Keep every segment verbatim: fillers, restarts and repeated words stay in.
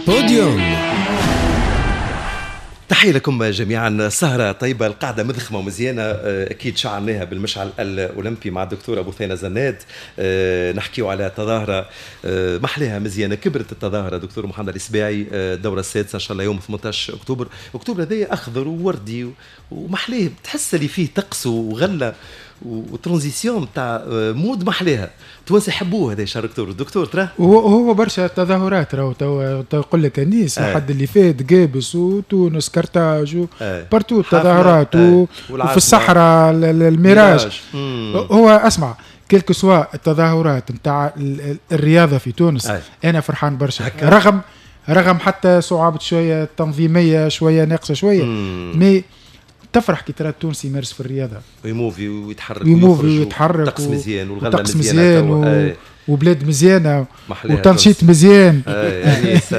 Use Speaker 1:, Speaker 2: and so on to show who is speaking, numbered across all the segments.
Speaker 1: بوديوم. تحية لكم جميعا، سهرة طيبة، القعدة مذخمة ومزيانة، أكيد شعلناها بالمشعل الأولمبي مع الدكتور أبو ثينة زناد. نحكيو على تظاهرة محلها مزيانة، كبرت التظاهرة دكتور محمد الإسباعي، الدورة السادسة إن شاء الله يوم ثمانية عشر أكتوبر. أكتوبر هذايا أخضر ووردي ومحليه، تحس اللي فيه طقس وغلة و transition تاع mode محليها، توانسة يحبوه هذا شهر اكتوبر. دكتور ترى
Speaker 2: هو هو برشا تظاهرات راهو تو تقول لك انيس الحد اللي فات قابس وتونس كرتاج partout تظاهرات وفي الصحراء الميراج. هو اسمع quel que soit التظاهرات نتاع الرياضة في تونس آه. انا فرحان برشا رغم رغم حتى صعوبة شوية تنظيميه شوية ناقصه شوية، mais تفرح كي ترى التونسي يمارس في الرياضة
Speaker 1: ويموفي ويتحرك
Speaker 2: ويموفي ويتحرك،
Speaker 1: طقس مزيان والغلة مزيانه
Speaker 2: و... وبلاد مزيانه وتنشيط مزيان.
Speaker 1: انيس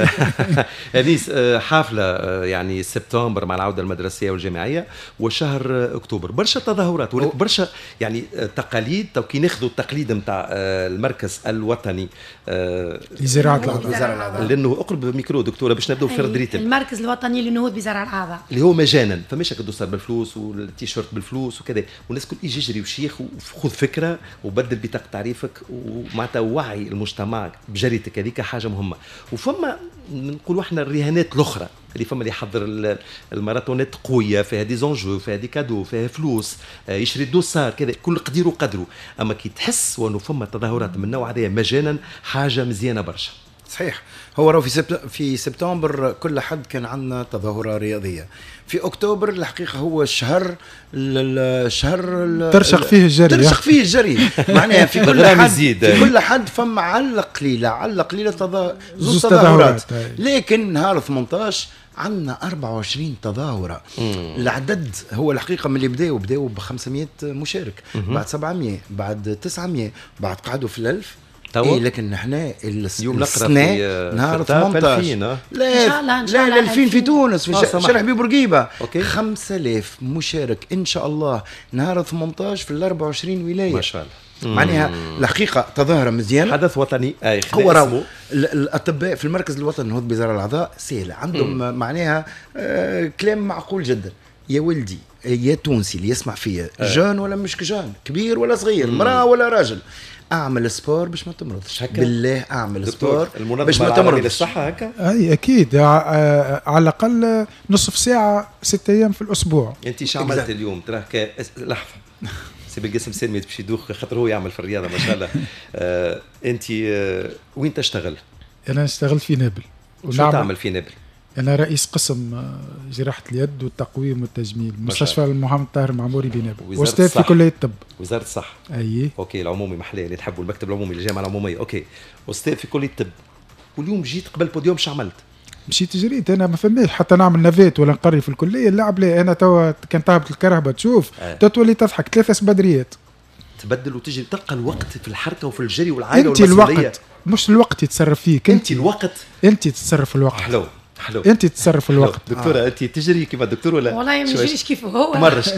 Speaker 1: انيس حافلة يعني سبتمبر مع العودة المدرسية والجامعيه وشهر اكتوبر برشا تظاهرات برشا يعني تقاليد. تو كي ناخذوا التقليد نتاع المركز الوطني
Speaker 2: لزراعه الاعضاء،
Speaker 1: لانه اقرب ميكرو دكتورة باش نبداو في rythme.
Speaker 3: المركز الوطني للنهوض بزرع الاعضاء
Speaker 1: اللي هو مجانا، فماش هكا ال dossard بالفلوس والتيشيرت بالفلوس وكذا، والناس الكل يجي يجري وشيخ وخذ فكرة وبدل بطاقة تعريفك ومعناتها وعي المجتمع بجريتك هذيك حاجة مهمة. وفما نقولوا احنا الرهانات الاخرى اللي فما اللي يحضر الماراثونات قوية فيها des enjeux، فيها des cadeaux، فيها فلوس، يشري dossard كذا، كل قدير وقدره. اما كي تحس وانه فما تظاهرات من النوع هذا مجانا حاجة مزيانه برشا.
Speaker 4: صحيح، هو راهو في سبت... في سبتمبر كل حد كان عندنا تظاهرة رياضية. في اكتوبر الحقيقة هو الشهر الشهر
Speaker 2: ترشق فيه الجري،
Speaker 4: ترشق فيه الجري معناها في كل حد في كل حد فما على القليلة على القليلة تظا... زوج تظاهرات، لكن نهار ثمانية عشر عندنا أربعة وعشرين تظاهرة. مم. العدد هو الحقيقة من اللي بداوا بداوا ب خمسمية مشارك، مم. بعد سبعمية، بعد تسعمية، بعد قعدوا في الألف. إيه لكن نحن
Speaker 1: اليوم نقرا في
Speaker 4: نهار ثمانية عشر لا لا ألفين في تونس في شارع حبيب بورقيبة خمسة آلاف مشارك ان شاء الله نهار ثمانية عشر في ال أربعة وعشرين ولاية.
Speaker 1: ما شاء الله،
Speaker 4: معناها الحقيقة تظاهرة مزيانه،
Speaker 1: حدث وطني. اي
Speaker 4: هو راهو الاطباء في المركز الوطني للنهوض بزرع الاعضاء سهلة عندهم، مم. معناها آه كلام معقول جدا. يا ولدي يا تونسي اللي يسمع فيا، jeune ولا مش jeune، كبير ولا صغير، مراة ولا راجل، اعمل sport باش ما تمرضش. بالله اعمل sport باش ما تمرضش.
Speaker 1: للصحة هكا؟
Speaker 2: اي اكيد، على الاقل نصف ساعة ستة ايام في الاسبوع.
Speaker 1: انت شو عملت اليوم؟ تراه لحظة سي بالقاسم سالمي باش يدوخ خاطر هو يعمل في الرياضة ما شاء الله. آه، انت آه، وين تشتغل؟
Speaker 2: انا اشتغلت في نابل.
Speaker 1: شو تعمل في نابل؟
Speaker 2: أنا رئيس قسم جراحة اليد والتقويم والتجميل مستشفى محمد طاهر المعموري بنابل، وأستاذ في كلية الطب.
Speaker 1: وزارة الصحة.
Speaker 2: أي
Speaker 1: OK العمومي محلية اللي تحبوا، المكتب العمومي الجامعة العمومية. OK أستاذ في كلية الطب، واليوم جيت قبل بوديوم شو عملت؟
Speaker 2: مشيت جريت أنا، ما فماش حتى نعمل navette ولا نقري في الكلية، اللعب لا. أنا توا كان تهبط الكرهبة تشوف أه. تولي تضحك ثلاثة سبادريات
Speaker 1: تبدل وتجري، تلقى الوقت في الحركة وفي الجري والعائلة
Speaker 2: والمسؤولية. أنت الوقت مش الوقت يتصرف فيك،
Speaker 1: أنت الوقت
Speaker 2: أنت تتصرف في الوقت.
Speaker 1: حلو حلو،
Speaker 2: انت تتصرف الوقت.
Speaker 1: دكتورة آه. انت تجري كيما الدكتور ولا؟
Speaker 3: والله ما نجريش كيف هو،
Speaker 1: مرش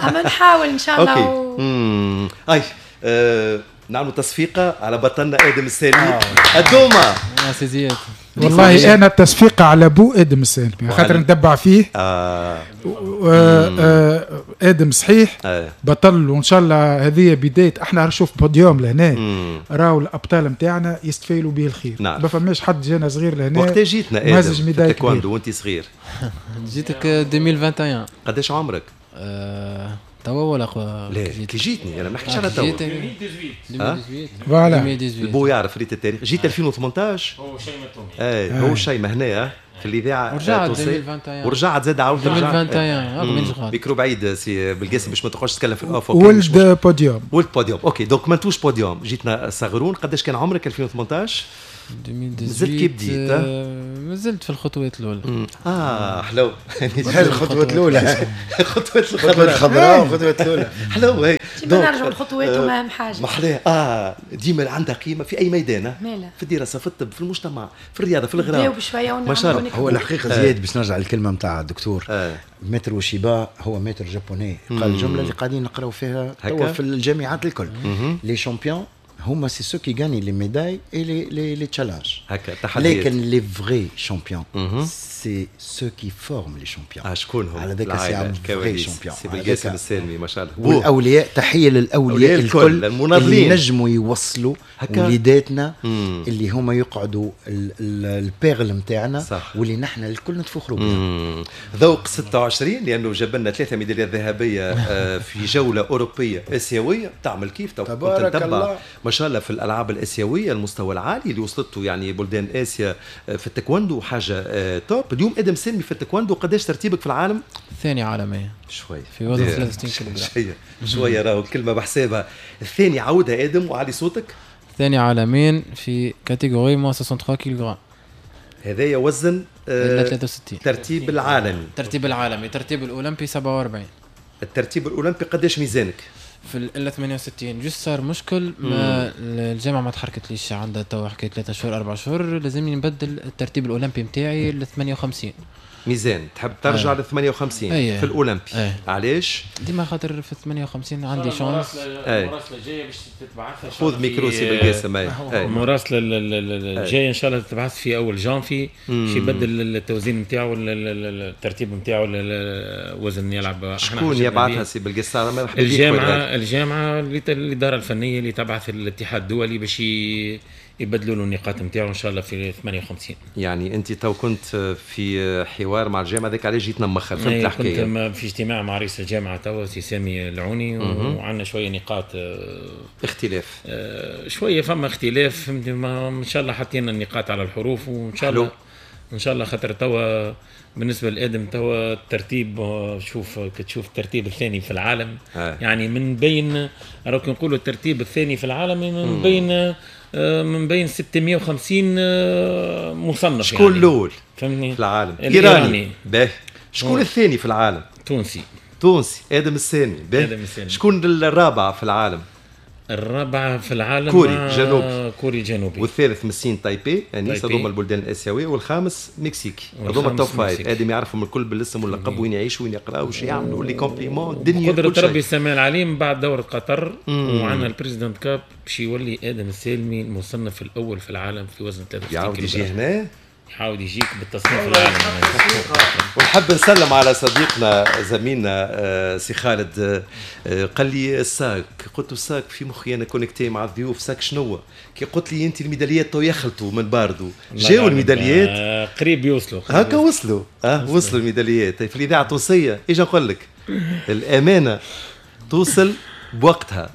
Speaker 3: اما نحاول ان شاء الله.
Speaker 1: OK امم اي آه. نعملوا تصفيقه على بطلنا ادم السالمي. آه. الدومه
Speaker 5: يا سي زياد.
Speaker 2: والله انا التصفيقه على بو ادم السالمي خاطر نتبع فيه.
Speaker 1: آه.
Speaker 2: و... آه. ادم صحيح
Speaker 1: آه.
Speaker 2: بطل، وان شاء الله هذه بداية. احنا نشوف بوديوم لهنا راهو الابطال نتاعنا يستفيلوا به الخير.
Speaker 1: نعم.
Speaker 2: ما فماش حد جانا صغير لهنا.
Speaker 1: وقتها جيتنا ادم في التايكوندو وانت صغير؟
Speaker 5: جيتك ألفين وواحد وعشرين.
Speaker 1: قداش عمرك؟
Speaker 5: آه. توا ولا
Speaker 1: قبل؟ لا كي جيتني انا ما نحكيش على توا.
Speaker 5: ألفين وثمانية عشر
Speaker 2: voilà
Speaker 1: البو يعرف ريت التاريخ. جيت ألفين وثمانية عشر.
Speaker 6: هو شيماء التومي.
Speaker 1: اي هو شيماء هنا في الاذاعة
Speaker 5: ورجعت ألفين وواحد وعشرين.
Speaker 1: ورجعت زاد عاودت
Speaker 5: ألفين وواحد وعشرين.
Speaker 1: ميكرو بعيد سي بالقاسم باش ما تقعدش تتكلم في ال off.
Speaker 2: ولد بوديوم،
Speaker 1: ولد podium. OK donc منتوش بوديوم جيتنا صغرون. قداش كان عمرك ألفين وثمانية عشر؟ مازلت كي بديت؟
Speaker 5: مازلت في الخطوات الاولى.
Speaker 1: اه حلو
Speaker 4: الخطوات الاولى،
Speaker 1: الخطوات
Speaker 4: الخضراء الخضراء والخطوات الاولى.
Speaker 1: حلو هي
Speaker 3: ديما نرجعوا الخطوات وما حاجة
Speaker 1: محلاه. اه ديما عندها قيمة في اي ميدان، في الدراسة، في الطب، في المجتمع، في الرياضة، في الغرام.
Speaker 3: بشوية
Speaker 1: ما شاء الله.
Speaker 4: هو الحقيقة زياد باش نرجع للكلمة نتاع الدكتور آه. maître اوشيبا هو maître japonais، قال الجملة اللي قاعدين نقراو فيها توا في الجامعات الكل، les champions هما c'est ceux qui gagnent les médailles et les les les challenges
Speaker 1: هكا تحديات.
Speaker 4: لكن les vrais champions c'est ceux qui forment les champions.
Speaker 1: اه شكون هم؟
Speaker 4: على ذاك c'est un vrai champion.
Speaker 1: سي بالقاسم السالمي ما شاء الله.
Speaker 4: والاولياء، تحية للاولياء الكل المناضلين اللي نجموا يوصلوا وليداتنا اللي هما يقعدوا ال perles نتاعنا واللي نحن الكل نتفخروا بهم.
Speaker 1: ذوق ستة وعشرين لانه جاب لنا ثلاثة ميداليات ذهبية في جولة اوروبية اسيوية تعمل كيف
Speaker 4: تبارك الله
Speaker 1: ما شاء الله في الالعاب الاسيوية المستوى العالي اللي وصلته يعني بلدان اسيا في التايكوندو حاجة top. اليوم ادم سلمي في التايكوندو قداش ترتيبك في العالم؟
Speaker 5: الثاني عالميا
Speaker 1: شوي
Speaker 5: في وزن ثلاثة وستين كيلوغرام.
Speaker 1: شوية شوية راهو الكلمة بحسابها. الثاني عاودها ادم وعلي صوتك.
Speaker 5: الثاني عالميا في catégorie moins ثلاثة وستين كيلوغرام.
Speaker 1: هذايا وزن
Speaker 5: آه ثلاثة وستين.
Speaker 1: ترتيب العالمي.
Speaker 5: ترتيب العالمي، ترتيب الاولمبي سبعة وأربعين.
Speaker 1: الترتيب الاولمبي قداش ميزانك؟
Speaker 5: في ال ثمانية وستين. juste صار مشكل ما الجامعة ما تحركتليش، عندها توا حكاية ثلاثة شهور أربع شهور، لازمني نبدل الترتيب الاولمبي نتاعي ل ثمانية وخمسين.
Speaker 1: ميزان تحب ترجع ل ثمانية وخمسين أيه. في الاولمبي. أيه. علاش؟
Speaker 5: ديما خاطر في ثمانية وخمسين عندي chance.
Speaker 6: المراسله الجاية باش تتبعثها.
Speaker 1: خذ ميكرو سي بالقاسم.
Speaker 6: المراسله الجاية ان شاء الله تتبعث في اول جانفي باش يبدل التوزين نتاعو الترتيب نتاعو الوزن يلعب.
Speaker 1: شكون يبعثها سي بالقاسم؟
Speaker 6: مرحبا بك. الجامعة الجامعة الادارة الفنية اللي تبعث الاتحاد الدولي باش يبدلوا له النقاط نتاعو ان شاء الله في ثمانية وخمسين.
Speaker 1: يعني انت تو كنت في حوار مع الجامعة ذاك علاش جيتنا مخر، فهمت الحكاية؟
Speaker 6: كنت في اجتماع مع رئيس الجامعة توا سي سامي العوني، وعندنا شوية نقاط
Speaker 1: اختلاف،
Speaker 6: شوية فما اختلاف، فهمت؟ ان شاء الله حطينا النقاط على الحروف وان شاء الله ان شاء الله خاطر توا بالنسبة لادم توا الترتيب، شوف كتشوف الترتيب الثاني في العالم. آه. يعني من بين راك نقولوا الترتيب الثاني في العالم من بين من بين ستمية وخمسين مصنف.
Speaker 1: شكون يعني الاول
Speaker 6: فهمتني
Speaker 1: في العالم؟ ايراني. باهي. شكون الثاني في العالم؟
Speaker 6: تونسي.
Speaker 1: تونسي ادم السالمي. باهي. شكون الرابع في العالم؟
Speaker 6: الرابعة في العالم
Speaker 1: كوري جنوبي.
Speaker 6: كوري جنوبي.
Speaker 1: والثالث من الصين تايبي، يعني هذوما البلدان الاسيوية، والخامس مكسيكي. هذوما ال top five. ادم يعرفهم الكل بالاسم واللقب، وين يعيشوا وين يقراوا وش يعملوا les compléments الدنيا.
Speaker 6: قدرة ربي السماء العليم بعد دورة قطر وعندنا ال President Cup باش يولي ادم السالمي المصنف الاول في العالم في وزن ثلاثة وستين
Speaker 1: يعاود يجي هنا،
Speaker 6: يحاول يجيك بالتصنيف العالمي.
Speaker 1: ونحب نسلم على صديقنا زميلنا سي خالد. قال لي ال sac، قلت له ال sac في مخي انا connecté مع الضيوف، sac شنو؟ كي قلت لي انت الميداليات تو يخلطوا من باردو، جاوا الميداليات
Speaker 6: قريب يوصلوا،
Speaker 1: هكا وصلوا، اه وصلوا الميداليات في الاذاعة التونسية. اجا نقول لك الامانة توصل بوقتها.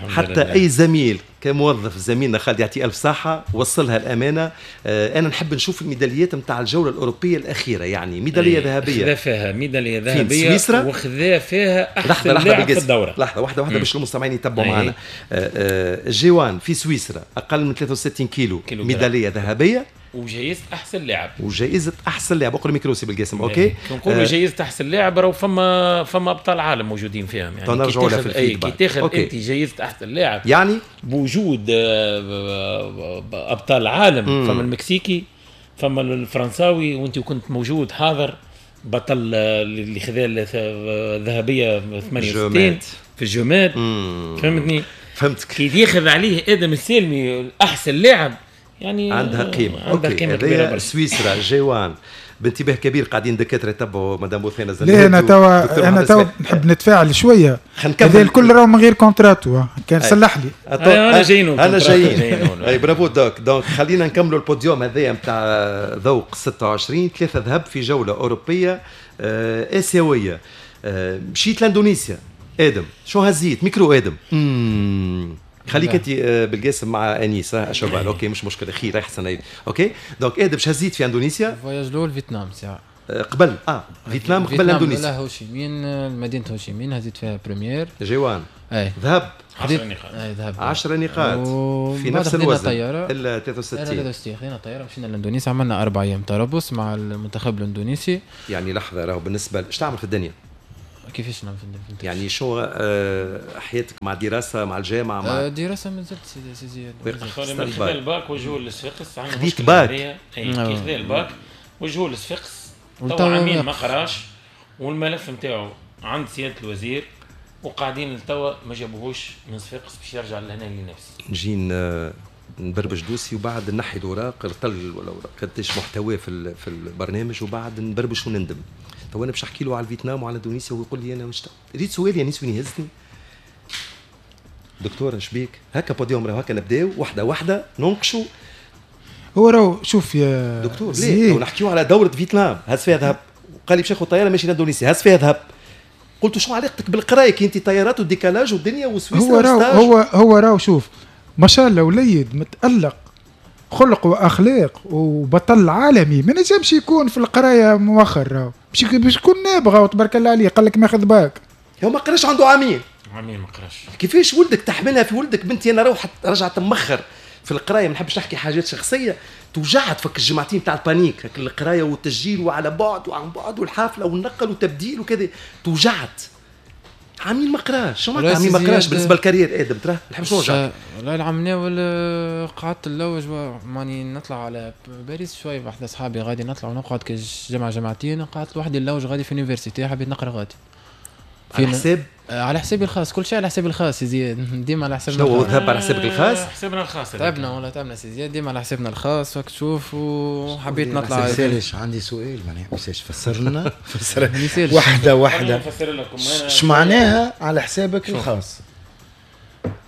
Speaker 1: حتى اي زميل كموظف، زميلنا خالد يعطيه الف صحة وصلها الامانة. آه انا نحب نشوف الميداليات نتاع الجولة الاوروبية الاخيرة، يعني ميدالية ذهبية
Speaker 6: خذا فيها ميدالية ذهبية وخذا فيها احسن لاعب في الدورة.
Speaker 1: لحظة واحدة واحدة باش المستمعين يتبعوا معنا. آه آه G un في سويسرا اقل من ثلاثة وستين كيلو, كيلو ميدالية ذهبية
Speaker 6: وجائزة احسن لاعب.
Speaker 1: وجائزة احسن لاعب. اقرا ميكروسي بالقاسم. OK
Speaker 6: نقولوا آه جائزة احسن لاعب راهو فما فما ابطال عالم موجودين فيهم، يعني
Speaker 1: كي تاخذ
Speaker 6: في كي تاخذ انت جائزة احسن لاعب
Speaker 1: يعني
Speaker 6: بوجود ابطال عالم. مم. فما المكسيكي، فما الفرنساوي، وانت كنت موجود حاضر بطل اللي خذا الذهبية ثمانية وستين في الجماد. فهمتني؟
Speaker 1: فهمتك.
Speaker 6: كي ياخذ عليه ادم السالمي احسن لاعب يعني
Speaker 1: عندها قيمة.
Speaker 6: عندها قيمة كبيرة برشا.
Speaker 1: سويسرا G un بانتباه كبير قاعدين دكاترة يتبعوا مدام بوثينه.
Speaker 2: لا انا توا انا توا نحب نتفاعل شوية. هذا الكل راهو من غير contrat و كان صلح لي.
Speaker 6: انا جايين
Speaker 1: انا جايين. اي bravo doc. donc خلينا نكملوا البوديوم هذايا نتاع ذوق ستة وعشرين. ثلاثة ذهب في جولة اوروبية آه اسيوية. آه مشيت لاندونيسيا ادم، شو هزيت ميكرو ادم؟ امم خليك انت بالقاسم مع انيس اشوف. OK مش مشكلة، خير احسن. OK donc ادم باش هزيت في اندونيسيا؟
Speaker 5: ال voyage الاول فيتنام ساعة
Speaker 1: قبل اه فيتنام قبل اندونيسيا.
Speaker 5: لا هوشيمين، مدينة هوشيمين هزيت فيها première
Speaker 1: G un.
Speaker 5: اي
Speaker 1: ذهب
Speaker 6: عشرة نقاط.
Speaker 5: اي ذهب
Speaker 1: عشرة نقاط في نفس الوزن الا ثلاثة وستين.
Speaker 5: ثلاثة وستين خذينا طيارة مشينا لاندونيسيا، عملنا اربع ايام تربص مع المنتخب الاندونيسي.
Speaker 1: يعني لحظة راهو بالنسبة ايش تعمل في الدنيا؟
Speaker 5: كيفاش نعمل في الدنيا؟
Speaker 1: يعني شو آه حياتك مع دراسة مع الجامعة مع
Speaker 5: آه دراسة مازلت سي سي زياد.
Speaker 6: خذا الباك وجهه للصفاقس.
Speaker 1: خذيت باك؟
Speaker 6: اي كي خذا الباك وجهه للصفاقس تو عامين ما قراش، والملف نتاعو عند سيادة الوزير وقاعدين لتوا ما جابوهوش من صفاقس باش يرجع لهنا لنفسه.
Speaker 1: نجي نبربش dossier وبعد نحي الاوراق الطل ولا اوراق قداش محتواه في في البرنامج وبعد نبربش ونندم. تو انا باش نحكي له على الفيتنام وعلى اندونيسيا ويقول لي انا مش ريت سؤال يا نيس وين يهزني دكتور شبيك هكا بوديوم راهو هكا نبداو واحدة واحدة ننقشوا.
Speaker 2: هو راهو شوف يا
Speaker 1: دكتور ليه نحكيو على دوره فيتنام هز فيها ذهب قال لي باش ناخذ طيارة ماشي لاندونيسيا هز فيها ذهب. قلت شو علاقتك بالقرايه كي انت طيارات وال décalage والدنيا وسويسرا؟
Speaker 2: هو راهو هو هو راهو شوف ما شاء الله وليد متألق خلق واخلاق وبطل عالمي، ما نجمش يكون في القراية مؤخر، راهو باش باش يكون نابغه وتبارك الله عليه. قال لك ماخذ باك،
Speaker 1: هو ما قراش عنده عامين
Speaker 6: عامين ما قراش.
Speaker 1: كيفاش ولدك تحملها في ولدك؟ بنتي انا روحت رجعت مخر في القراية، ما نحبش نحكي حاجات شخصية، توجعت فك الجماعتين تاع ال panique، هك القراية والتسجيل وعلى بعد وعن بعد والحافله والنقل وتبديل وكذا، توجعت. عامين ما قراش، شو معناتها عامين ما قراش بالنسبة لل carrière ادم؟ ترى ما نحبش نوجعك.
Speaker 5: والله العام الاول قعدت نلوج ماني نطلع على باريس شوي بحذا اصحابي غادي نطلع ونقعد كجمعه جمعتين، قعدت لوحدي نلوج غادي في université، حبيت نقرا غادي.
Speaker 1: على حساب؟
Speaker 5: على حسابي الخاص، كل شيء على حسابي الخاص يا زياد، ديما على حسابنا.
Speaker 1: شنو ذهب على حسابك الخاص؟
Speaker 6: حسابنا الخاص
Speaker 5: تعبنا والله تعبنا سي زياد، ديما على حسابنا الخاص. وقت تشوف وحبيت نطلع.
Speaker 4: ما يسالش عندي سؤال معناها ما يسالش فسر لنا فسر واحدة واحدة اش معناها على حسابك الخاص؟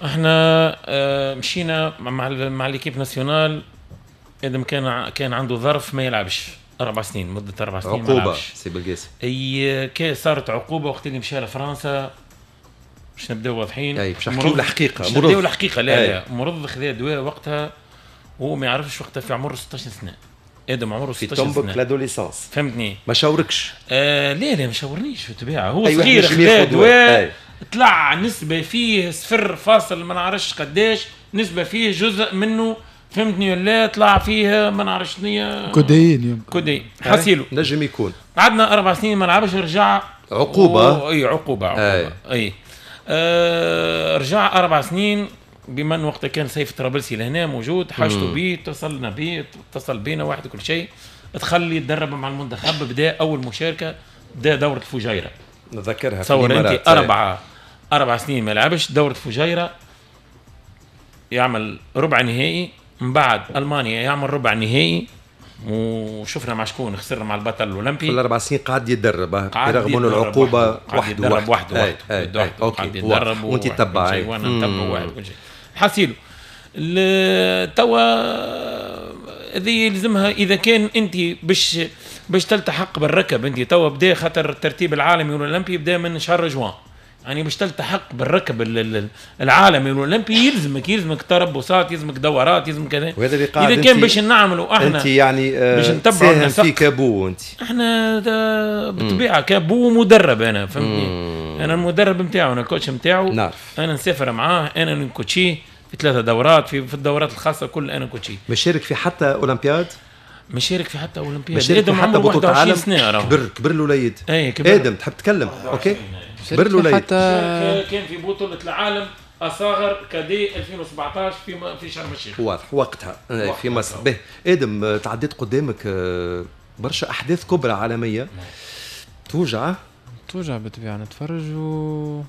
Speaker 6: احنا مشينا مع مع l'équipe nationale، ادم كان كان عنده ظرف ما يلعبش أربع سنين، مدة أربع سنين
Speaker 1: عقوبة سي بالقاسم.
Speaker 6: أي كي صارت عقوبة وقت اللي مشى لفرنسا، باش نبداو واضحين.
Speaker 1: أي باش نحكيو الحقيقة.
Speaker 6: باش نبداو الحقيقة. لا لا مرض خذا دواء وقتها وهو ما يعرفش وقتها في عمره ستة عشر سنة. آدم عمره ستة عشر سنة.
Speaker 1: في طنبك l'adolescence.
Speaker 6: فهمتني؟
Speaker 1: ما شاوركش.
Speaker 6: آه لا لا ما شاورنيش بالطبيعة، هو صغير خذا دواء طلع نسبة فيه صفر فاصل ما نعرفش قداش، نسبة فيه جزء منه فهمتني ولا طلع فيه ما نعرفش شنو
Speaker 2: كودين يمكن
Speaker 6: كودين حسيلو
Speaker 1: نجم يكون.
Speaker 6: قعدنا اربع سنين ما لعبش، رجع
Speaker 1: عقوبه و...
Speaker 6: اي عقوبه عقوبه اي, أي. آه رجع اربع سنين بما ان وقتها كان سيف طرابلسي لهنا موجود، حاجته بيه اتصلنا بيه اتصل بينا واحد كل شيء، دخل يتدرب مع المنتخب، بدا اول مشاركة بدا دوره الفجيرة
Speaker 1: نذكرها.
Speaker 6: تصور انت اربعة اربع سنين ما لعبش، دوره فجيره يعمل ربع نهائي، من بعد المانيا يعمل ربع نهائي وشفنا مع شكون خسر مع البطل الاولمبي.
Speaker 1: في الاربع سنين قعد يتدرب رغم انه العقوبة وحده
Speaker 6: وحده وحده قعد يتدرب
Speaker 1: وانت تتبع
Speaker 6: وانا نتبع واحد كل شيء حاسيلو. توا هذه يلزمها اذا كان انت باش باش تلتحق بالركب انت توا بدا، خاطر الترتيب العالمي والاولمبي بدا من شهر جوان، يعني باش تلتحق بالركب العالمي والاولمبي يلزمك يلزمك تربصات، يلزمك دورات، يلزمك كذا.
Speaker 1: وهذا اللي قاعد
Speaker 6: اذا كان باش نعملوا احنا
Speaker 1: انت يعني باش نتبعوا النسق في كابو انت
Speaker 6: احنا بالطبيعة كابو مدرب انا فهمتني، انا المدرب نتاعو، انا ال coach نتاعو،
Speaker 1: نعرف
Speaker 6: انا نسافر معاه، انا نكوتشيه في ثلاثة دورات في, في الدورات الخاصة كل انا نكوتشيه.
Speaker 1: مشارك في حتى اولمبياد؟
Speaker 6: مشارك في حتى اولمبياد،
Speaker 1: مشارك في حتى بطوله العالم. كبر كبر الوليد.
Speaker 6: اي كبر.
Speaker 1: ادم تحب تتكلم؟ OK كبر الوليد.
Speaker 6: حتى كان في بطوله العالم اصاغر cadets ألفين وسبعطاش في في شرم الشيخ.
Speaker 1: واضح وقتها في مصر. به ادم تعديت قدامك برشا احداث كبرى عالمية توجع
Speaker 5: توجع بالطبيعة، نتفرج و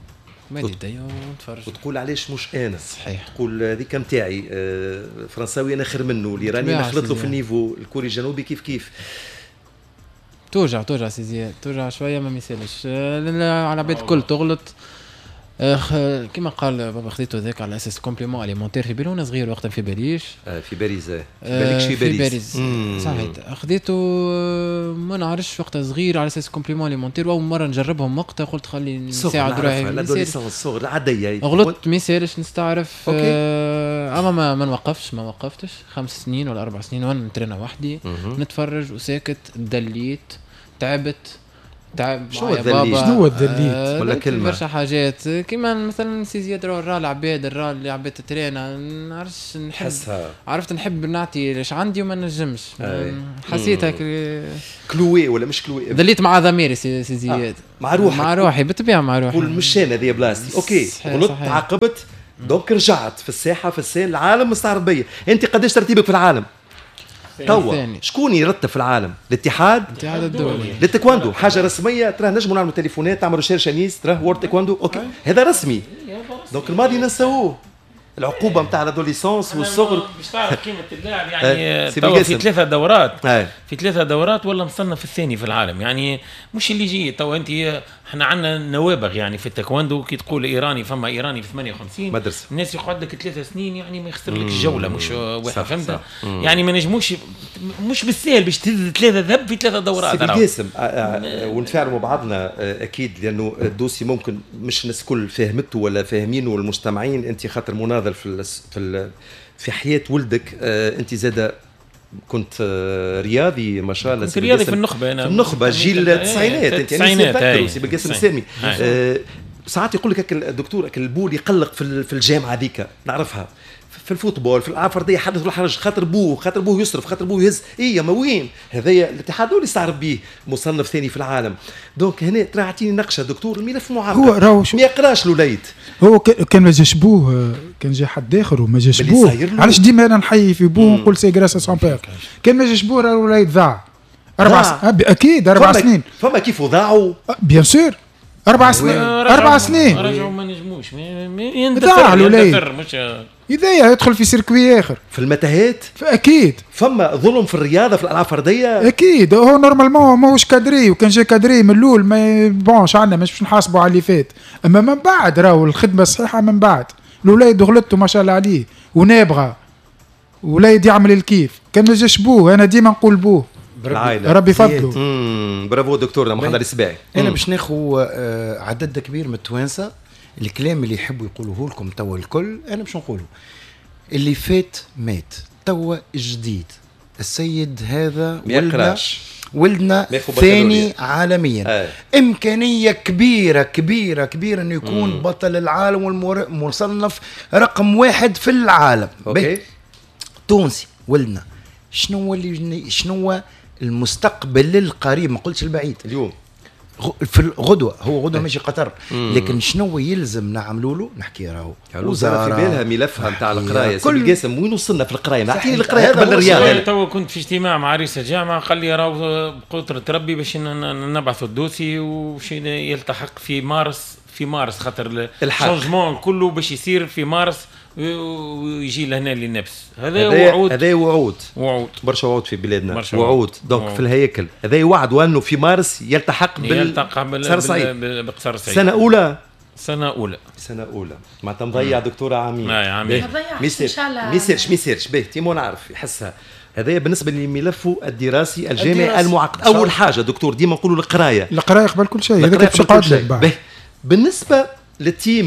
Speaker 5: ما يدي ونتفرج
Speaker 1: وتقول علاش مش انا.
Speaker 5: صحيح.
Speaker 1: تقول هذيك نتاعي فرنساوي انا خير منه، اللي راني نخلط له في ال niveau، الكوري الجنوبي كيف كيف.
Speaker 5: توجع توجع سي زياد، توجع شوية ما ميسالش على عباد الكل تغلط. كما قال بابا خذيته ذاك على اساس complément alimentaire في بالي وانا صغير وقتها في باريس.
Speaker 1: في باريس في بالك في باريس.
Speaker 5: صحيح خذيته ما نعرفش وقتها صغير على اساس complément alimentaire، واول مرة نجربهم وقتها قلت خلي نساعد روحي.
Speaker 1: l'adolescence الصغر العادية
Speaker 5: غلطت ما يسالش نستعرف. اما ما, ما نوقفش ما وقفتش خمس سنين ولا اربع سنين وانا نترينا وحدي نتفرج وساكت. دليت تعبت تعب.
Speaker 1: شنو الذليل؟
Speaker 2: شنو الذليل؟
Speaker 1: ولا كلمة
Speaker 5: برشا حاجات كيما مثلا سي زياد راه العباد راه اللي عباد تترينا نعرفش نحب عرفت نحب نعطي اش عندي وما نجمش. حسيت هك
Speaker 1: cloué ولا مش cloué،
Speaker 5: ذليت مع ضميري سي زياد. آه.
Speaker 1: مع روحك
Speaker 5: مع روحي بالطبيعة مع روحي.
Speaker 1: قول مش انا هذه بلاصتي. OK غلطت تعاقبت donc رجعت في الساحة في ال scène العالم مستعرب بيا. انت قداش ترتيبك في العالم؟ توا شكون يرتب في العالم؟ الاتحاد
Speaker 5: الاتحاد الدولي
Speaker 1: للتايكواندو، حاجة رسمية. ترى نجموا نعملوا تليفونات، تعملوا recherche انيس، ترى World Taekwondo OK، هذا رسمي. donc الماضي ننساوه، العقوبة نتاع l'adolescence والصغر.
Speaker 6: باش تعرف قيمة اللاعب يعني توا في ثلاثة دورات، في ثلاثة دورات ولا مصنف الثاني في العالم، يعني مش اللي يجي توا. انت احنا عندنا نوابغ يعني في التايكواندو، كي تقول ايراني فما ايراني في ثمانية وخمسين
Speaker 1: مدرسه،
Speaker 6: الناس يقعد لك ثلاثة سنين يعني ما يخسر لك الجولة، مش واحد، فهمت؟ يعني ما نجموش، مش بالسهل باش تهز ثلاثة ذهب في ثلاثة دورات.
Speaker 1: سي بالقاسم ونتفاعلوا مع بعضنا اكيد، لانه ال dossier ممكن مش الناس الكل فهمته ولا فاهمينه والمجتمعين. انت خاطر مناضل في في في حياة ولدك، انت زاده كنت رياضي ما شاء الله،
Speaker 6: كنت رياضي في النخبة، انا
Speaker 1: في النخبة جيل التسعينات، انت يعني سي بالقاسم سامي. ساعات يقول لك الدكتور البول يقلق في في الجامعة هذيك، نعرفها في ال football في الالعاب الفردية حدث ولا حرج، خاطر بوه خاطر بوه يصرف، خاطر بوه يهز، اي ما وين هذايا الاتحاد الدولي يستعرف به مصنف ثاني في العالم. donc هنا ترى اعطيني نقشه دكتور، الملف معقد،
Speaker 2: هو راهو
Speaker 1: ما يقراش الوليد،
Speaker 2: هو كان ما جاش بوه، كان جا حد اخر وما جاش بوه. علاش ديما انا نحيي في بوه ونقول c'est grâce à son père، كان ما جاش بوه راه الوليد ضاع اربع س... اكيد اربع سنين.
Speaker 1: فما كيف ضاعوا
Speaker 2: bien sûr اربع سنين، اربع سنين
Speaker 6: رجعوا ما نجموش، ضاع
Speaker 2: الوليد مش إذا يدخل في circuit اخر
Speaker 1: في المتاهات.
Speaker 2: اكيد
Speaker 1: فما ظلم في الرياضة في الالعاب الفردية،
Speaker 2: اكيد. هو normalement ماهوش cadré، وكان جا cadré من الاول ما bon عندنا مش باش نحاسبوا على اللي فات، اما من بعد راهو الخدمة الصحيحة من بعد. الوليد غلطته ما شاء الله عليه ونابغه، وليد يعمل الكيف، كان ما جاش بوه، انا ديما نقول بوه ربي فضله.
Speaker 1: برافو دكتورنا محمد السباعي.
Speaker 4: انا باش ناخذ عدد كبير من التوانسة، الكلام اللي يحبوا يقولوه لكم توا الكل انا باش نقوله. اللي فات مات، توا جديد. السيد هذا ولدنا ولدنا ثاني عالميا. آه. امكانية كبيرة كبيرة كبيرة انه يكون مم. بطل العالم والمصنف رقم واحد في العالم.
Speaker 1: OK.
Speaker 4: تونسي ولدنا، شنو اللي شنو المستقبل القريب، ما قلتش البعيد،
Speaker 1: اليوم
Speaker 4: في الغدوه، هو غدوه ماشي قطر، لكن شنو يلزم نعملوا له؟ نحكي راهو
Speaker 1: الوزارة في بالها ملفها نتاع القراية. سي بالقاسم وين وصلنا في القراية؟ اعطيني القراية قبل الرياضة.
Speaker 6: تو كنت في اجتماع مع رئيس الجامعة، قال لي راهو بقدره ربي باش نبعثوا ال dossier وباش يلتحق في مارس، في مارس خاطر ال changement كله باش يصير في مارس ويجي لهنا للنفس. هذا وعود،
Speaker 1: هذا وعود،
Speaker 6: وعود
Speaker 1: برشا وعود في بلادنا، وعود donc وعود. في الهياكل هذا وعد، وانه في مارس يلتحق بال
Speaker 6: يلتحق بال بقصر سعيد.
Speaker 1: سنة اولى،
Speaker 6: سنة اولى،
Speaker 1: سنة اولى معناتها مضيع دكتورة عامين.
Speaker 6: عامين
Speaker 1: ما يصيرش، ما يصيرش، ما يصيرش. باهي تيمو نعرف يحسها. هذا بالنسبة لملفه الدراسي الجامعي المعقد. اول حاجة دكتور ديما نقولوا القراية،
Speaker 2: القراية قبل كل شيء، هذاك باش يقعد لك.
Speaker 1: بالنسبة لل team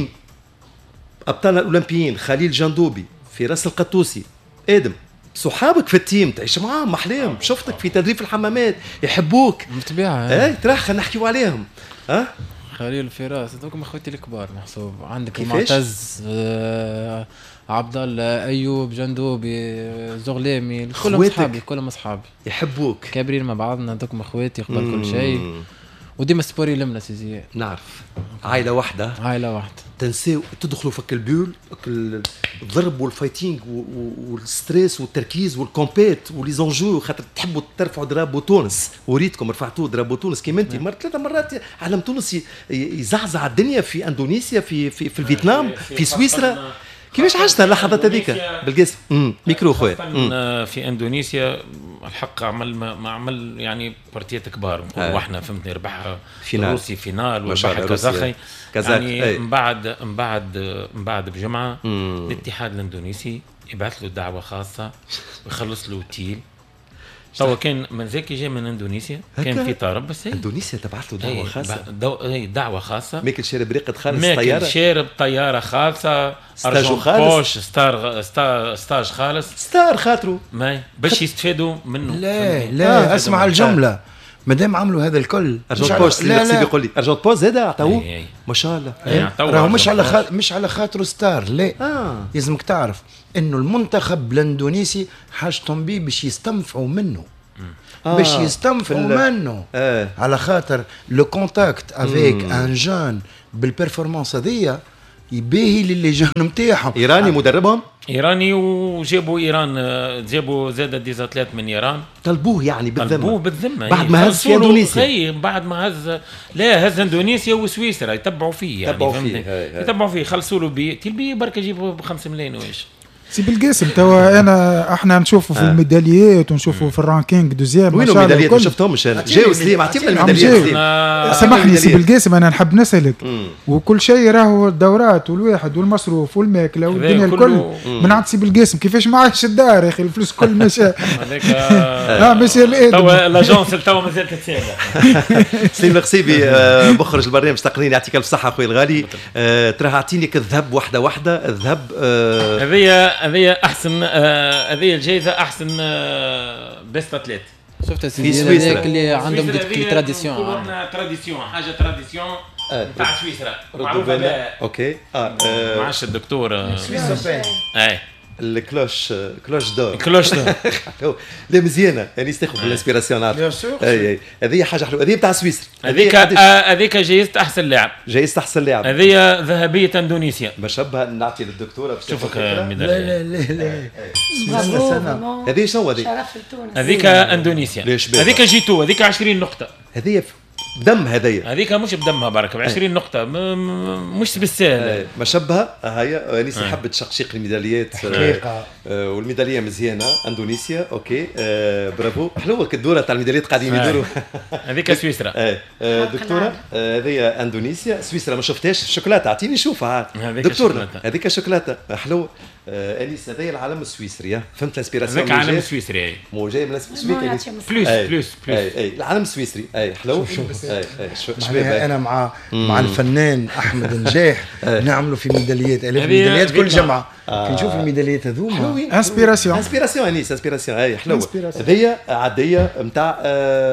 Speaker 1: ابطالنا الاولمبيين خليل جندوبي، فراس القطوسي، ادم صحابك في ال team تعيش معاهم محلاهم، شفتك في تدريب الحمامات يحبوك
Speaker 5: بالطبيعة.
Speaker 1: اي ترى خلينا نحكيو عليهم. ها
Speaker 5: خليل فراس هذوك اخوتي الكبار محسوب، عندك المعتز، آه، عبد الله، ايوب، جندوبي، زغلامي، كلهم اصحابي، كلهم اصحابي
Speaker 1: يحبوك،
Speaker 5: كابرين مع بعضنا، هذوك اخواتي قبل كل شيء. وديما sport يلمنا سي زياد.
Speaker 1: نعرف عائلة واحدة،
Speaker 5: عائلة واحدة.
Speaker 1: تنساو تدخلوا فك ال bulle، الضرب وال fighting وال stress والتركيز وال compète و les enjeux، خاطر تحبوا ترفعوا drapeau تونس، وريتكم رفعتوا drapeau تونس كيما انت مرة ثلاث مرات علم تونس يزعزع الدنيا في اندونيسيا، في في, في الفيتنام، في سويسرا. كيفاش عشت اللحظات هذيك بالقاسم؟ ميكرو خويا.
Speaker 6: في اندونيسيا الحق عمل ما عمل يعني بارتيات كبار نقولوا احنا، فهمتني، ربحها الروسي finale وربح الكازاخي يعني. من بعد من بعد من بعد بجمعه الاتحاد الاندونيسي يبعث له دعوه خاصة ويخلص له اوتيل. توا كان من ذاك جاي من اندونيسيا، كان في طرب بس
Speaker 1: اندونيسيا تبعث له دعوه خاصة،
Speaker 6: دو... دعوه خاصة،
Speaker 1: ماكل شارب ريقه خالص، طيارة،
Speaker 6: ماكل شارب طيارة خالصة،
Speaker 1: stage خالص،
Speaker 6: star star stage خالص،
Speaker 1: star خاطره
Speaker 6: ما باش يستفادوا منه.
Speaker 4: لا لا اسمع الجملة، مادام عملوا هذا الكل
Speaker 1: argent poche، لا لا يقول لي argent poche هذا عطاوه ما شاء الله،
Speaker 4: راهو مش على خاطر مش على خاطره star، لا. آه. لازمك تعرف انه المنتخب الاندونيسي حاجتهم بيه باش يستنفعوا منه. آه. باش يستنفعوا منه. آه. على خاطر le contact avec un jeune بال performance هذيا يباهي لل les jeunes نتاعهم.
Speaker 1: ايراني مدربهم؟
Speaker 6: ايراني، وجابوا ايران، جابوا زاد des athlètes من ايران.
Speaker 1: طلبوه يعني بالذمه.
Speaker 6: طلبوه بالذمه
Speaker 1: بعد ما هز في اندونيسيا.
Speaker 6: بعد ما هز، لا هز اندونيسيا وسويسرا، يتبعوا فيه يعني،
Speaker 1: يتبعوا فيه
Speaker 6: يتبعوا فيه، خلصوا له billet، ال billet بركة يجيبوا بخمسة ملايين وايش.
Speaker 2: سي بالقاسم توا انا احنا نشوفوا في آه. الميداليات ونشوفوا في ال ranking deuxième.
Speaker 1: وين الميداليات؟ ما شفتهمش انا. جاو سليم، اعطينا الميداليات سليم.
Speaker 2: سامحني سي بالقاسم، انا نحب نسالك. وكل شيء راهو الدورات والواحد والمصروف والماكله والدنيا الكل من عند سي بالقاسم، كيفاش ما عادش الدار يا اخي الفلوس كل ماشي
Speaker 6: هذاك.
Speaker 2: اه ماشي
Speaker 6: توا l'agence توا مازالت تتسالى.
Speaker 1: سليم القصيبي مخرج البرنامج تقنيا، يعطيك الف صحة خويا الغالي. تراه اعطيني الذهب واحدة واحدة. الذهب
Speaker 6: هذه هذه احسن، هذه الجائزة احسن best athlète.
Speaker 5: شفت سيدي هذاك اللي عندهم des traditions،
Speaker 6: tradition، حاجة tradition نتاع سويسرا معروفة بها.
Speaker 1: OK اه
Speaker 6: ما عادش الدكتور
Speaker 4: سويسرا.
Speaker 6: اي
Speaker 1: ال cloche، cloche d'or،
Speaker 6: cloche d'or
Speaker 1: لا مزيانه يعني تاخذ ال inspiration.
Speaker 4: bien sûr.
Speaker 1: اي اي هذه حاجة حلوة، هذه بتاع سويسرا.
Speaker 6: هذيك هذيك جائزة احسن لاعب،
Speaker 1: جائزة احسن لاعب.
Speaker 6: هذه ذهبية اندونيسيا.
Speaker 1: مشبه نعطي للدكتوره باش
Speaker 6: تشوفك.
Speaker 4: لا لا لا لا
Speaker 1: هذه شنو هذه؟
Speaker 3: شرف لتونس.
Speaker 6: هذيك اندونيسيا، هذيك جيتو، هذيك عشرين نقطة.
Speaker 1: هذه بدم هذيا،
Speaker 6: هذيك مش بدمها بركة ب عشرين نقطة، مش بالساهل.
Speaker 1: مشبهة هيا انيس حبت تشقشيق الميداليات
Speaker 4: حقيقة.
Speaker 1: آه والميداليه مزيانه اندونيسيا. OK آه برافو، حلوة الدورة تاع الميداليات قاعدين يدوروا.
Speaker 6: هذيك سويسرا.
Speaker 1: آه دكتورة هذه اندونيسيا، سويسرا ما شفتهاش. شوكولاتة اعطيني نشوفها دكتور. هذيك شوكولاتة حلوة. انيس هذا العلم السويسري، فهمت ال inspiration؟
Speaker 6: هذاك العلم السويسري
Speaker 1: مو جاي من السويسري.
Speaker 6: plus plus plus
Speaker 1: اي العلم السويسري. اي حلو. اي
Speaker 4: اي انا مع مع الفنان احمد نجاح نعملوا في ميداليات، الاف ميداليات كل جمعه. كي نشوف الميداليات هذوما
Speaker 2: inspiration،
Speaker 1: inspiration انيس، inspiration. اي حلوة هذه عادية نتاع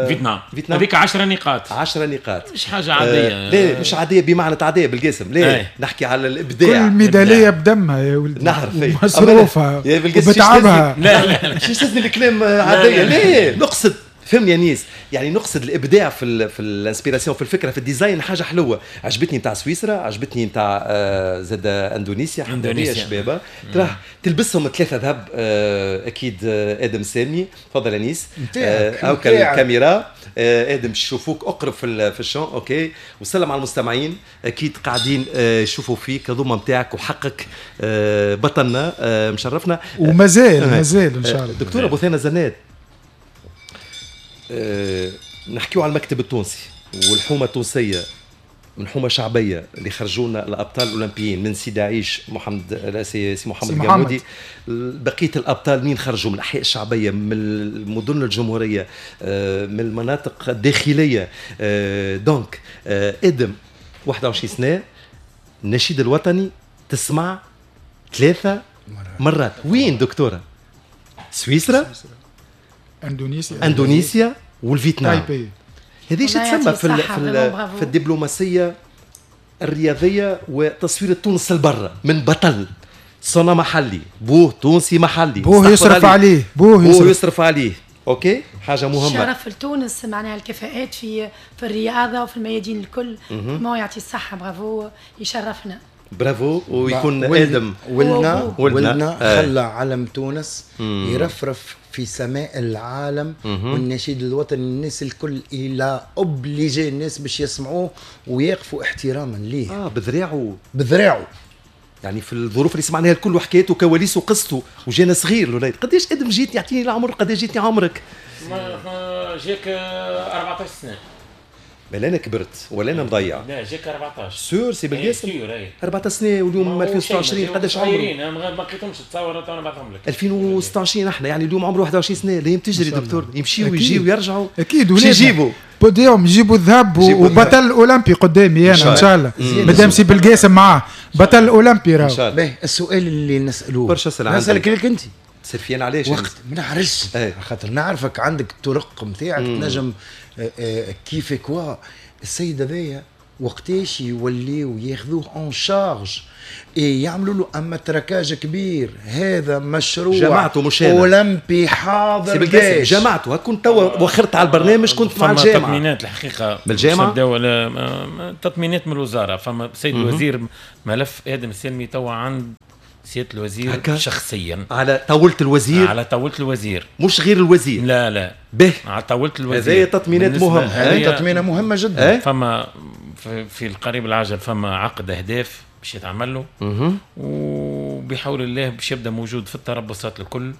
Speaker 6: فيتنام. فيتنام هذيك عشرة نقاط.
Speaker 1: عشرة نقاط
Speaker 6: مش حاجة عادية.
Speaker 1: لا مش عادية بمعنى عادية بالقاسم، لا نحكي على الابداع.
Speaker 2: كل ميدالية بدمها يا ولدي،
Speaker 1: نعرف
Speaker 2: مصروفها وبتعبها.
Speaker 6: لا لا
Speaker 1: مش تستثني الكلام عادية، لا نقصد فهمني يا نيس، يعني نقصد الابداع في ال في ال inspiration، في الفكرة، في ال design. حاجة حلوة عجبتني نتاع سويسرا، عجبتني نتاع آه زاد اندونيسيا.
Speaker 6: اندونيسيا
Speaker 1: شبابه تراه تلبسهم ثلاثة ذهب. آه اكيد آه ادم سامي. تفضل يا نيس. آه الكاميرا آه ادم يشوفوك، اقرب في في ال champ. OK وسلم على المستمعين، اكيد قاعدين يشوفوا فيك هذوما نتاعك وحقك. آه بطلنا آه مشرفنا
Speaker 2: ومازال مازال ان شاء الله.
Speaker 1: دكتورة بثينه زناد، أه نحكيو على المكتب التونسي والحومه التونسية، من حومه شعبية اللي خرجونا الابطال الاولمبيين من سيدي عيش محمد سي, سي محمد القمودي، بقية الابطال مين خرجوا من الاحياء الشعبية، من المدن الجمهورية، أه من المناطق الداخلية. أه donc أه ادم واحد وعشرين سنة، النشيد الوطني تسمع ثلاثة مرات. وين دكتورة؟ سويسرا،
Speaker 2: اندونيسيا،
Speaker 1: اندونيسيا والفيتنام. هذه شو تسمى في ال في, ال في الدبلوماسية الرياضية وتصوير تونس البرة من بطل صنع محلي، بوه تونسي محلي،
Speaker 2: بوه يصرف عليه،
Speaker 1: بوه يصرف, بوه يصرف عليه. OK حاجة مهمة.
Speaker 3: شرف لتونس معناها الكفاءات في في الرياضة وفي الميادين الكل. ما يعطي الصحة، برافو، يشرفنا.
Speaker 1: برافو. ويكون ادم
Speaker 4: ولدنا ولدنا خلى علم تونس يرفرف في سماء العالم. مم. والنشيد الوطني الناس الكل الى obligé الناس باش يسمعوه ويقفوا احتراما ليه.
Speaker 1: اه بذراعه،
Speaker 4: بذراعه
Speaker 1: يعني في الظروف اللي سمعناها الكل وحكايته وكواليسه وقصته، وجانا صغير الوليد. قداش ادم جيتني؟ اعطيني العمر، قداش جيتني عمرك؟
Speaker 6: جاك أربعطاش سنة.
Speaker 1: بل انا كبرت ولا انا مضيع؟
Speaker 6: لا جاك أربعطاش.
Speaker 1: sûr سي بالقاسم أربعطاش سنة واليوم ألفين وستة وعشرين قداش عمره؟
Speaker 6: ما لقيتهمش تصور تو نبعثهم لك.
Speaker 1: ألفين وستة وعشرين احنا يعني اليوم عمره واحد وعشرين سنة. لا تجري دكتور، يمشيوا ويجيوا ويرجعوا.
Speaker 2: اكيد
Speaker 1: ولاد يجيبوا
Speaker 2: بوديوم، يجيبوا الذهب وبطل اولمبي قدامي انا ان شاء الله، مادام سي بالقاسم معاه بطل اولمبي راهو.
Speaker 1: ان شاء الله.
Speaker 4: السؤال اللي نسالوه
Speaker 1: برشا اسئلة
Speaker 4: نسالك لك انت
Speaker 1: سفيان، علاش
Speaker 4: وقت ما نعرفش؟ خاطر نعرفك عندك الطرق نتاعك تنجم كيف quoi. السيد هذايا وقتاش يوليو ياخذوه en charge اي يعملوا له اما matraquage كبير. هذا مشروع
Speaker 1: جماعته مش انا
Speaker 4: اولمبي حاضر باش
Speaker 1: جماعته. كنت توا وخرت على البرنامج كنت مع الجامعة.
Speaker 6: تطمينات الحقيقة
Speaker 1: من الجامعة
Speaker 6: تطمينات من الوزارة. فما سيد الوزير ملف ادم السلمي توا عند سيادة الوزير شخصيا
Speaker 1: على طاولة الوزير،
Speaker 6: على طاولة الوزير
Speaker 1: مش غير الوزير.
Speaker 6: لا لا
Speaker 1: به
Speaker 6: على طاولة الوزير.
Speaker 1: هذه تطمينات مهمة،
Speaker 4: هذه تطمينه مهمة جدا.
Speaker 6: فما في القريب العاجل فما عقد اهداف باش يتعمل له، وبحول الله باش يبدا موجود في التربصات الكل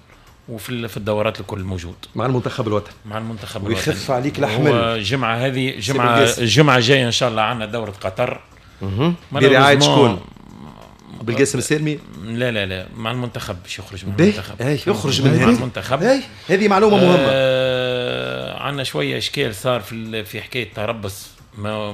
Speaker 6: وفي في الدورات الكل موجود
Speaker 1: مع المنتخب الوطني،
Speaker 6: مع المنتخب الوطني
Speaker 1: ويخف عليك الحمل.
Speaker 6: الجمعة هذه جمعه الجمعة الجاية ان شاء الله عندنا دوره قطر
Speaker 1: برعاية شكون؟ بالقاسم السالمي؟
Speaker 6: لا لا لا مع المنتخب باش يخرج من المنتخب.
Speaker 1: اي يخرج من
Speaker 6: المنتخب.
Speaker 1: هذه معلومة مهمة.
Speaker 6: آه عندنا شوية اشكال صار في في حكاية تربص، ما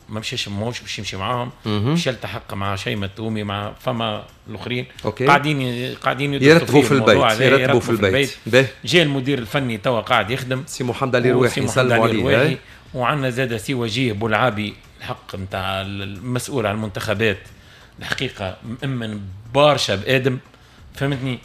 Speaker 6: ما مشاش ماهوش باش يمشي معاهم، باش يلتحق مع شيماء التومي مع فما الاخرين قاعدين قاعدين
Speaker 1: يرتبوا في البيت، يرتبوا في البيت.
Speaker 6: جاء المدير الفني توا قاعد يخدم
Speaker 1: سي محمد علي رواحي، نسلموا عليه.
Speaker 6: وعندنا زاد سي وجيه بولعابي الحق نتاع المسؤول على المنتخبات الحقيقة مأمن برشا بادم، فهمتني؟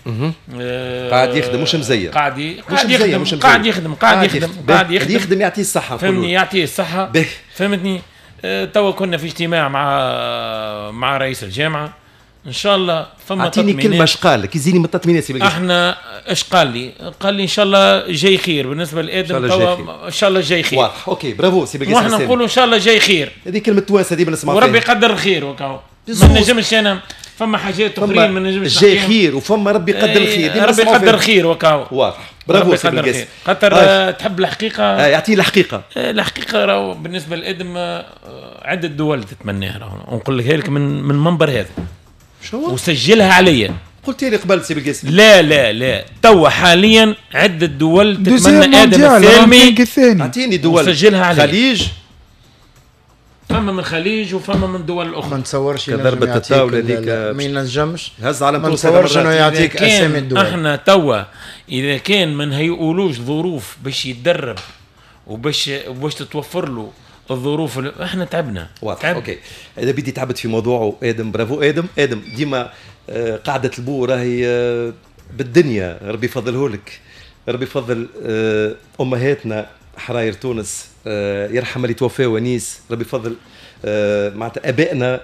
Speaker 1: آه قاعد يخدم مش مزير،
Speaker 6: قاعد قاعد يخدم قاعد يخدم قاعد يخدم قاعد
Speaker 1: يخدم يخدم يعطيه الصحة،
Speaker 6: فهمتني؟ يعطيه الصحة، فهمتني؟ آه توا كنا في اجتماع مع مع رئيس الجامعة ان شاء الله فما
Speaker 1: اعطيني كلمة اش قال لك، يزيني من التطمينات.
Speaker 6: احنا اش قال لي؟ قال لي ان شاء الله جاي خير بالنسبة لادم توا، ان شاء الله جاي خير.
Speaker 1: واضح، OK bravo سي بالقاسم.
Speaker 6: واحنا نقولوا ان شاء الله جاي خير،
Speaker 1: هذه كلمة توانسة ديما نسمعها،
Speaker 6: وربي يقدر الخير وكاو. ما نجمش انا فما حاجات اخرين ما نجمش
Speaker 1: جاي خير وفما ربي يقدر الخير،
Speaker 6: ربي يقدر الخير وكاو.
Speaker 1: واضح، برافو سي بالقاسم.
Speaker 6: خاطر آه. تحب الحقيقة،
Speaker 1: آه يعطيه الحقيقة.
Speaker 6: الحقيقة راهو بالنسبة لادم عده دول تتمناها، راهو نقول لك لك من من المنبر هذا
Speaker 1: شو
Speaker 6: وسجلها عليا.
Speaker 1: قلت لي قبل سي بالقاسم.
Speaker 6: لا لا لا توا حاليا عده دول تتمنى ادم السالمي.
Speaker 1: اعطيني دول
Speaker 6: وسجلها عليا.
Speaker 1: خليج،
Speaker 6: فما من الخليج وفما من دول اخرى.
Speaker 4: ما نتصورش
Speaker 1: ضربة الطاولة هذيك
Speaker 4: ما ينجمش
Speaker 1: هز على
Speaker 4: ما نتصورش انه يعطيك اسامي الدول.
Speaker 6: احنا توا اذا كان ما نهيئولوش ظروف باش يتدرب وباش وباش تتوفر له الظروف، احنا تعبنا.
Speaker 1: واضح،
Speaker 6: تعب.
Speaker 1: OK اذا بدي تعبت في موضوعه ادم، برافو ادم. ادم ديما قاعدة البو راهي بالدنيا، ربي يفضله لك، ربي يفضل امهاتنا حراير تونس، يرحم اللي توفاو ونيس، ربي يفضل معناتها ابائنا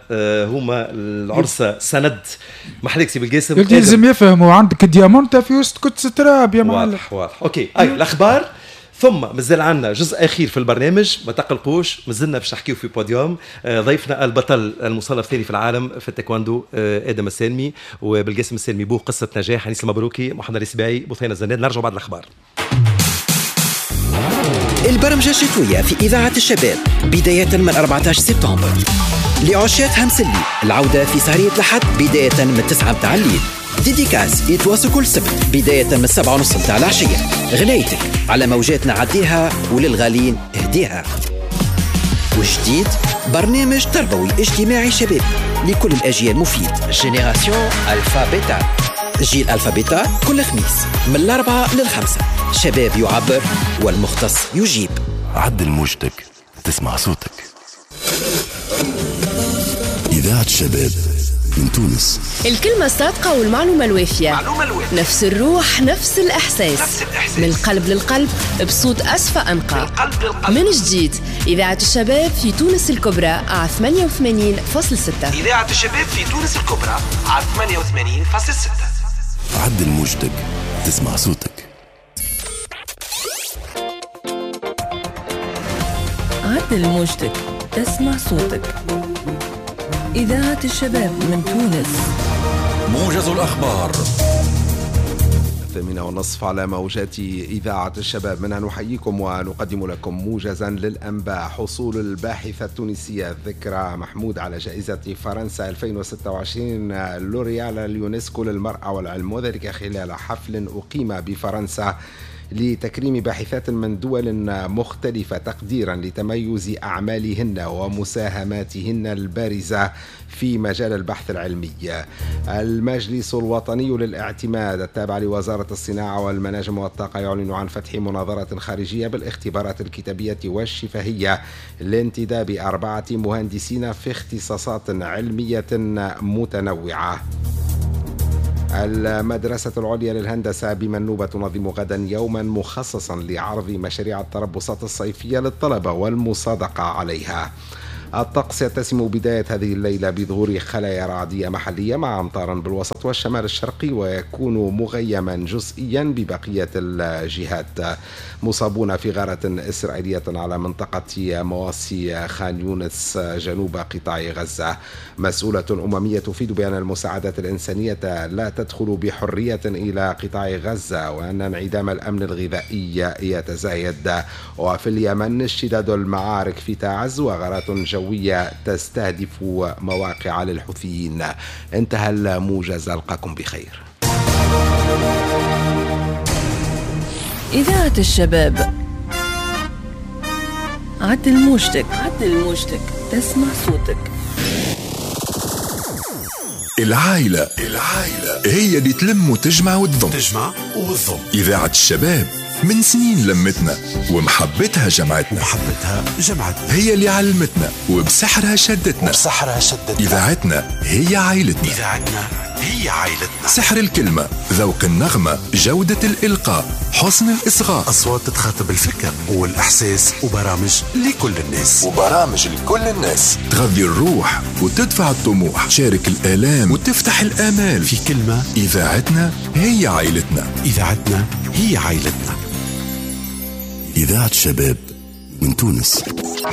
Speaker 1: هما العرسه سند. محليك سي بالقاسم.
Speaker 2: لازم يفهموا عندك diamant في وسط كتس تراب يا معلم.
Speaker 1: واضح واضح، OK اي الاخبار. ثم مازال عندنا جزء اخير في البرنامج، ما تقلقوش، مازلنا باش نحكيو في بوديوم. ضيفنا البطل المصنف الثاني في العالم في التايكوندو ادم السالمي وبالقاسم السالمي بوه قصة نجاح، انيس المبروكي، محمد السباعي، بثينه الزناد. نرجع بعد الاخبار.
Speaker 7: البرمجة الشتوية في إذاعة الشباب بداية من أربعة عشر سبتمبر. لعشاق همسلي العودة في سهرية الأحد بداية من تسعة متاع الليل. dédicace يتواصل كل سبت بداية من سبعة ونص متاع العشية. غنايتك على موجاتنا عديها وللغالين اهديها. وجديد برنامج تربوي اجتماعي شبابي لكل الأجيال مفيد، génération Alpha Bêta، جيل Alpha Bêta كل خميس من الأربعة للخمسة. شباب يعبر والمختص يجيب.
Speaker 8: عدل موجتك تسمع صوتك. إذاعة الشباب من تونس.
Speaker 9: الكلمة الصادقة والمعلومة الوافية، نفس الروح، نفس الإحساس، نفس الإحساس. من القلب للقلب بصوت أسفى أنقى. من جديد إذاعة الشباب في تونس الكبرى على ثمانية وثمانين فاصلة ستة.
Speaker 10: إذاعة الشباب في تونس الكبرى على ثمانية وثمانين فاصلة ستة.
Speaker 8: عدل موجتك تسمع صوتك.
Speaker 11: عدل موجتك تسمع صوتك. إذاعة الشباب من تونس.
Speaker 12: موجز الأخبار الثامنة والنصف على موجات إذاعة الشباب، منها نحييكم ونقدم لكم موجزا للأنباء. حصول الباحثة التونسية ذكرى محمود على جائزة فرنسا ألفين وستة وعشرين لوريال اليونسكو للمرأة والعلم، وذلك خلال حفل أقيم بفرنسا. لتكريم باحثات من دول مختلفة تقديرا لتميز أعمالهن ومساهماتهن البارزة في مجال البحث العلمي. المجلس الوطني للاعتماد التابع لوزارة الصناعة والمناجم والطاقة يعلن عن فتح مناظرة خارجية بالاختبارات الكتابية والشفهية لانتداب أربعة مهندسين في اختصاصات علمية متنوعة. المدرسة العليا للهندسة بمنوبة تنظم غدا يوما مخصصا لعرض مشاريع التربصات الصيفية للطلبة والمصادقة عليها. الطقس يتسم بداية هذه الليلة بظهور خلايا رعدية محلية مع أمطار بالوسط والشمال الشرقي، ويكون مغيما جزئيا ببقية الجهات. مصابون في غارة إسرائيلية على منطقة مواصي خان يونس جنوب قطاع غزة. مسؤولة أممية تفيد بأن المساعدات الإنسانية لا تدخل بحرية إلى قطاع غزة، وأن انعدام الأمن الغذائي يتزايد. وفي اليمن اشتداد المعارك في تعز وغارات جوية تستهدف مواقع للحوثيين. انتهى الموجز، ألقاكم بخير.
Speaker 11: إذاعة الشباب، عدل موجتك، عدل موجتك، تسمع صوتك.
Speaker 8: العائلة، العائلة هي اللي تلم وتجمع وتضم،
Speaker 10: تجمع وتضم.
Speaker 8: إذاعة الشباب من سنين لمتنا ومحبتها جمعتنا،
Speaker 10: ومحبتها جمعتنا،
Speaker 8: هي اللي علمتنا وبسحرها شدتنا،
Speaker 10: وبسحرها شدتنا.
Speaker 8: إذاعتنا هي عائلتنا،
Speaker 10: إذاعتنا هي عائلتنا.
Speaker 8: سحر الكلمة، ذوق النغمة، جودة الإلقاء، حسن الإصغاء،
Speaker 10: أصوات تخاطب الفكر والإحساس، وبرامج لكل الناس،
Speaker 8: وبرامج لكل الناس تغذي الروح وتدفع الطموح، تشارك الآلام وتفتح الآمال.
Speaker 10: في كلمة،
Speaker 8: إذاعتنا هي عائلتنا،
Speaker 10: إذاعتنا هي عائلتنا.
Speaker 8: إذاعة شباب من تونس.